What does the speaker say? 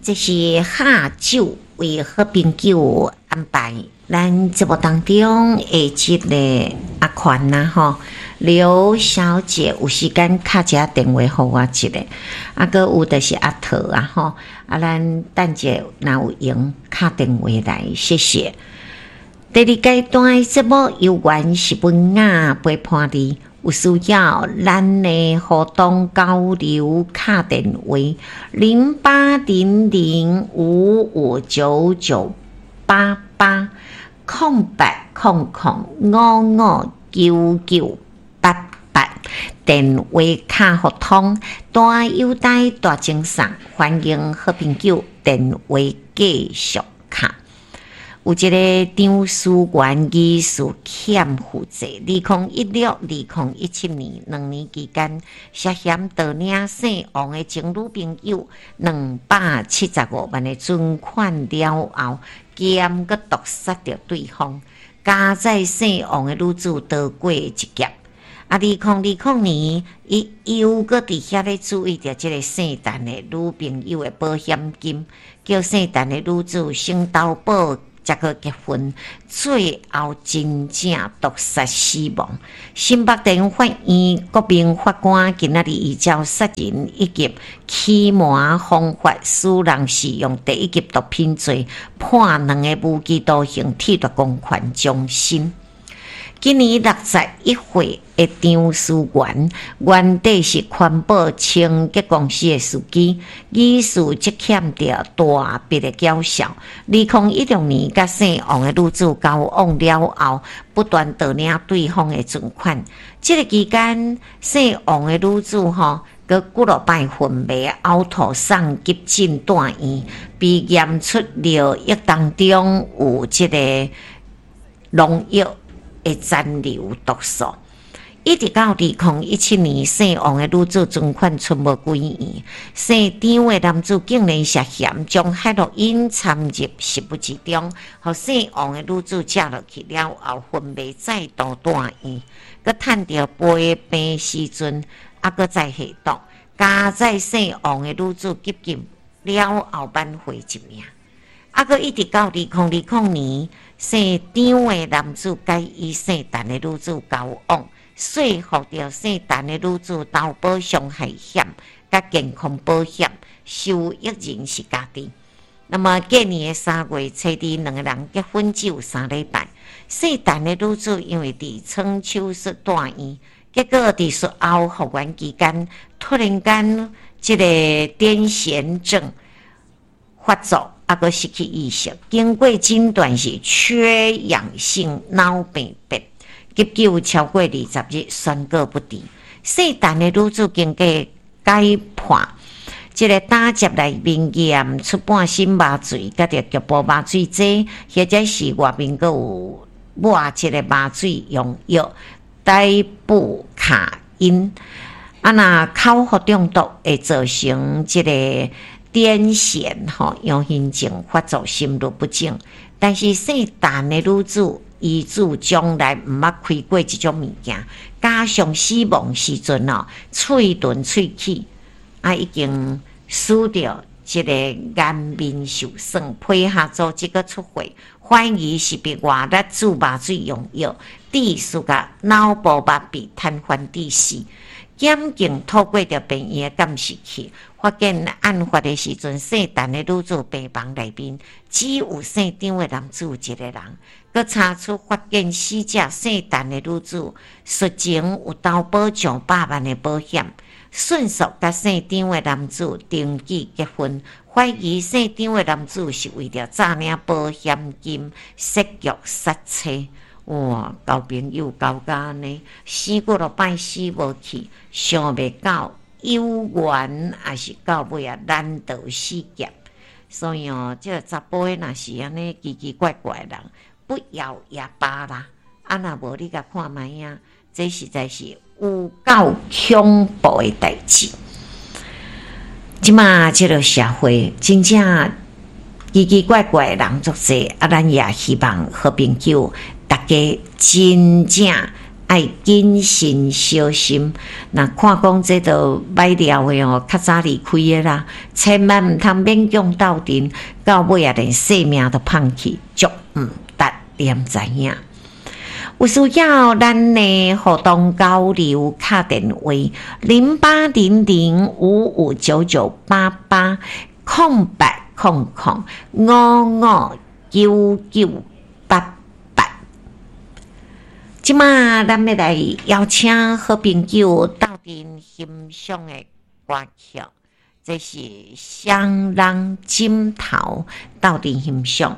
這是下晝為好朋友安排咱節目當中的這個阿寬啊吼，劉小姐有時間敲一下電話予我一下，啊，閣有就是阿桃啊吼，啊，咱等者若有閒敲電話來，謝謝。第二階段的節目猶原是文雅陪伴你，有需要咱的互動交流，敲電話08005599880800559988，電話敲予通，大優待大贈送，歡迎好朋友電話繼續敲。有一个張思源疑似欠負債，2016、2017年2年期間，涉嫌盜領姓王的前女朋友275萬的存款了後，兼閣毒殺著對方，加載姓王的女子逃過一劫。啊，2020年，伊又閣佇遐咧注意著這个姓陳的女朋友的保險金，叫姓陳的女子先投保。才閣結婚，最後真正毒殺死亡。新北地法院國民法官今仔日依照殺人以及欺瞞方法使人使用第一級毒品罪，判兩个無期徒刑，褫奪公權終身。今年61歲的張思源，原底是環保清潔公司的司機，疑似積欠著大筆的繳數。2016年，佮姓王的女子交往了後，不斷盜領對方的存款。這个期間，姓王的女子吼，閣幾落擺昏迷、嘔吐、送急診住院，被驗出尿液當中有這个農藥的殘留毒素，一直到2017年，姓王的女子存款存無幾元，姓張的男子竟然涉嫌將海洛因摻入食物之中，予姓王的女子食落去了後昏迷，再度住院，閣趁著陪病時陣，猶閣再下毒，加載姓王的女子急救了後挽回一命。猶閣一直到2020年，姓張的男子佮伊姓陳的女子交往，說服著姓陳的女子投保傷害險佮健康保險，受益人是家己。那麼隔年的3月初二，兩个人結婚只有3禮拜。姓陳的女子因為佇創手術住院，結果佇術後復原期間，突然間這个癲癇症發作。猶閣失去意識，經過診斷是缺氧性腦病變，急救超過20日，宣告不治。姓陳的女子經過解剖，這个膽汁內面驗出半身麻醉，佮著局部麻醉劑，或者是外面閣有抹這个麻醉用藥，代布卡因。啊，若口服中毒會造成這个癲癇吼，陽性症發作，心律不整。但是姓陳的女子，伊子從來毋捌開過這種物件，加上死亡時陣哦，喙唇喙齒啊已經使著這个顏面受損，皮下組織閣出血，懷疑是被外力注麻醉用藥，致使甲腦部麻痹癱瘓致死。檢警透過著病院的監視器，發現案發的時陣，姓陳的女子病房內面只有姓張的男子一个人。閣查出發現死者姓陳的女子術前有投保上百萬的保險，迅速佮姓張的男子登記結婚，懷疑姓張的男子是為著詐領保險金設局殺妻。哇，交朋友交甲按呢，死幾落擺死無去，想袂到有緣，抑是到尾啊難逃死劫。所以哦，這个查埔的若是按呢奇奇怪怪的人，不要也罷啦。啊，若無你共看覓啊，這實在是有夠恐怖的代誌。這馬這个社會真正奇奇怪怪的人足濟，啊，咱也希望好朋友大家真正愛謹慎小心。若看講這都䆀料的哦，較早離開的啦，千萬毋通勉強鬥陣，到尾啊連性命都放棄，足毋值，你毋知影？有需要咱的互動交流，敲電話08005599880800559988。這馬咱欲來邀請好朋友鬥陣欣賞的歌曲，這是雙人枕頭鬥陣欣賞。